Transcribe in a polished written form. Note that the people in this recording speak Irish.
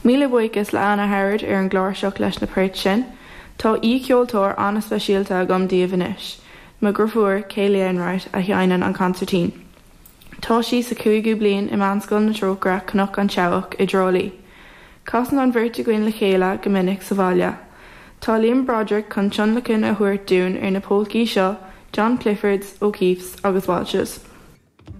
Míle buíochas le Anna Howard ar an gcláirseach leis na poirt sin. Tá aoi-cheoltóir an-speisialta agam daoibh anois, mo dheirfiúr, Kayleigh Enright, a sheinneann an consairtín. Tá sí sa chúigiú bliain i Meánscoil na Trócaire, Cnoc an tSeabhac, i dTrá Lí. Casann an bheirt againn le chéile go minic sa bhaile. Tá Liam Broderick chun tionlacan a thabhairt dúinn ar na polcaí seo, John Clifford's, O'Keefe's agus Walsh's.